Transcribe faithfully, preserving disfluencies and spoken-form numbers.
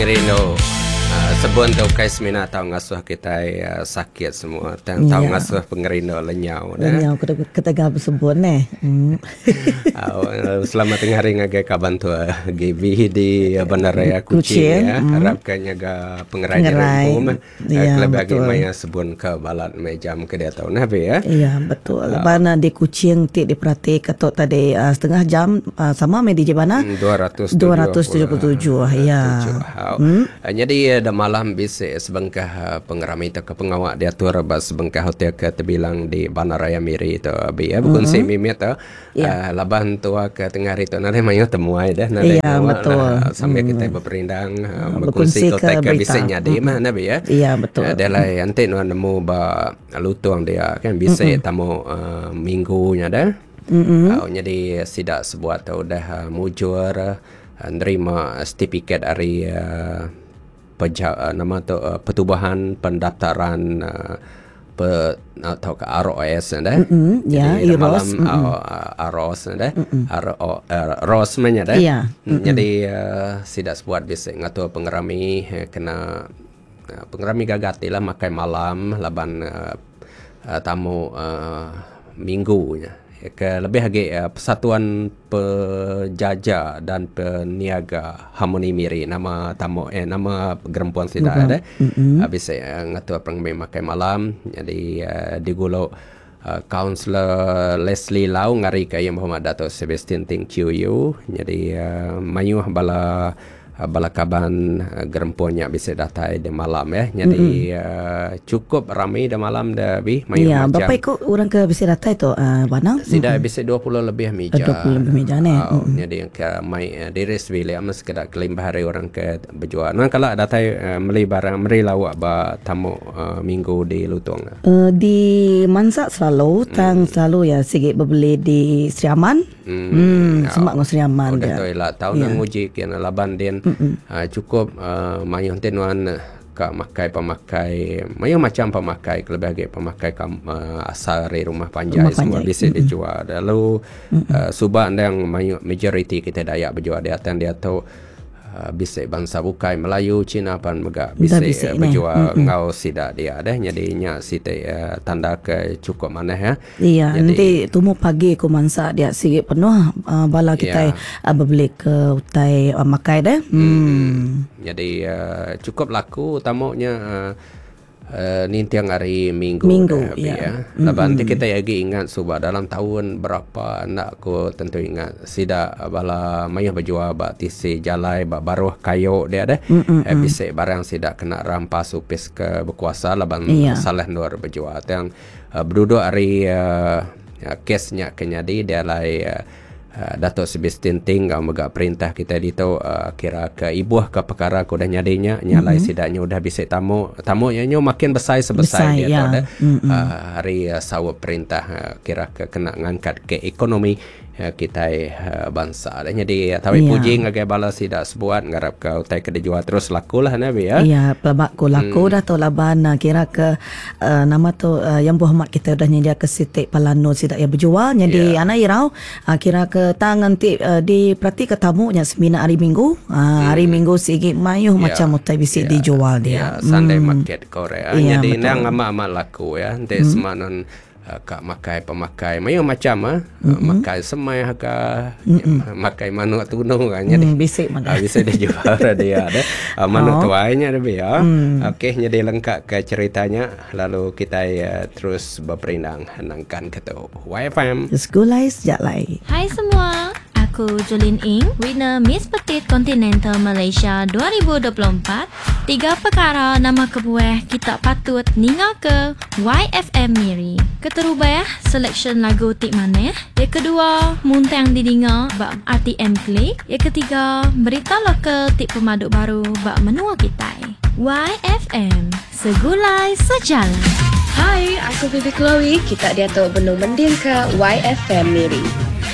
Pengerindu uh, sebun tu kai semina tau ngasuh kita uh, sakit semua tang tau Ya. ngasuh pengerindu lenyau dah. Lenyau ketegal bersebut neh. Hmm. Uh, selamat tengah hari ngagai kaban tua G B di Bandaraya Kuching, Kuching, ya. mm. Harapkan nyaga pengerai Pengerai. diri pun. Ya, Kelebih lagi betul. maya sebun ke balat mai jam ke dia tahu nah be ya. Ya, betul. Lepas uh, di Kuching ti diperhati ketuk tadi uh, setengah jam uh, sama mai D J Bana. Hmm, dua ratus dua ratus tujuh puluh tujuh, ya. Hmm. Jadi dah malam bisa sebengkah pengerami atau ke pengawak diatur ba sebengkah hotel ke terbilang di Bandaraya Miri tu abi ya berkongsi mm-hmm. mimit tu. Ya. Uh, laban tua ke tengah hari tu nade mayu temuai dah nade. Ya, betul. Nah, sambil kita berperindang uh, Berkongsi berkongsi ke ke tai ke berita. bisa nyadi mah nabi ya. Ya, betul. Uh, dia lah nanti nuan nemu ba lutung dia kan bisa tamu uh, minggunya dah. Mm-hmm. Uh, jadi sidak sebuat tu dah uh, mujur uh, nerima sertifikat dari uh, peja, uh, nama tu uh, pertubuhan pendaftaran uh, pe, atau ke R O S dah. Mm-mm, ya, Jadi I R O S. malam uh, R O S dah. R O uh, R O S nya dah. Ya. Mm-mm. Jadi uh, sidak sebuat bisa ngatur pengerami eh, kena uh, pengerami gagati lah makai malam laban uh, uh, tamu uh, minggunya. Ke lebih lagi uh, Persatuan Pejaja dan Peniaga Harmoni Miri nama tamu eh nama gerempuan sida ada. Habis saya uh, ngatur pengerami makai malam jadi uh, digulok uh, Kaunselor Leslie Lau ngari ke Yang Berhormat Dato' Sebastian Ting Q U. Jadi uh, mayuh bala bala kaban uh, gerempuannya bisa datai di malam ya. Jadi mm-hmm. uh, cukup ramai di malam dah bi mayuh Ya, macam. berapa ikut orang ke bisa datai tu uh, Banang? Sida mm-hmm. bisa dua puluh lebih meja. dua puluh lebih meja ni. Oh, mm-hmm. Jadi yang ke mai uh, diri sebili amat sekedar kelimbah hari orang ke berjual. Nah kalau datai uh, beli barang beli lawak ba tamu uh, minggu di Lutong. Uh, di Mansak selalu, tang selalu ya sikit berbeli di Sri Aman. Hmm, Hmm, ya. semak dengan Sri Aman Udah dia. tu elak tahu Ya. nang nguji kian laban din. Uh, cukup uh, mayuh tenuan ka makai pemakai mayuh macam pemakai lebih lagi pemakai kam, uh, asal dari rumah panjai Rumah semua panjai. bisa dijual. Lalu uh, subak yang mayuh majoriti kita Dayak berjual di atas dia tu uh, bisa bangsa bukai Melayu Cina pan mega bisa bisik uh, ni. berjual ngau sida dia dah jadinya site uh, tanda ke cukup mana ya. Iya, Jadi- nanti tumu pagi aku mansak dia sikit penuh uh, bala kita Ya. uh, berbeli ke utai uh, makai dah. Hmm. Jadi uh, cukup laku tamunya uh, uh, nintiang hari Minggu Minggu, dah, Abi, ya. ya. Laban nanti kita lagi ingat subah dalam tahun berapa anak aku tentu ingat sida bala mayuh berjual bak tisi jalai bak baruh kayu dia dah. Eh, bisik barang sida kena rampas upis ke berkuasa laban Ya. salah nur berjual. Yang uh, berduduk hari uh, kesnya kenyadi dia lai uh, Uh, Datuk Sebastian Ting kau mega perintah kita dito uh, kira ke ibuh ke perkara ku dah nyadinya nyalai mm-hmm. sidaknya udah bisa tamu tamu nya nyo makin besar sebesar Besar, dia ya. tu dah mm-hmm. uh, hari uh, sawab perintah uh, kira ke kena ngangkat ke ekonomi uh, kita uh, bangsa dah jadi uh, tawi Ya. puji ngagai bala sidak sebuat ngarap ke utai ke dijual terus lakulah nabi ya. Ya, pelabak ku laku hmm. dah tu laban uh, kira ke uh, nama tu uh, yang berhormat kita dah nyedia ke sitik palano sidak ya berjual jadi Ya. anak irau uh, kira ke tang nanti uh, di perhati ke tamunya semina hari Minggu. Uh, hari Minggu sigi mayuh Ya. macam utai bisi Ya. dijual dia. Ya, Sunday market Korea. Ya, Jadi betul. nang amat-amat laku ya. Nanti hmm. semanon uh, kak makai pemakai mayu macam ah. Mm-hmm. Makai semai ka mm-hmm. makai manuk tunu kan jadi. Hmm, bisik mana. Ah, bisa dijual dia ada. Uh, manuk Oh. tuainya lebih ya. Mm. Okey, jadi lengkap ke ceritanya lalu kita uh, terus berperindang nangkan ke tu. Y F M. Segulai sejak lai. Hai semua, aku Jolin Ing, winner Miss Petite Continental Malaysia dua ribu dua puluh empat. Tiga perkara nama kebuah kita patut ninga ke Y F M Miri. Keterubah, selection lagu tik maneh. Yang kedua, muntang didinga bak R T M Klik. Yang ketiga, berita lokal tik pemaduk baru bak menua kita. Y F M, segulai sejalan. Hai, aku Bibi Chloe. Kita dia tu benung mending ke Y F M Miri.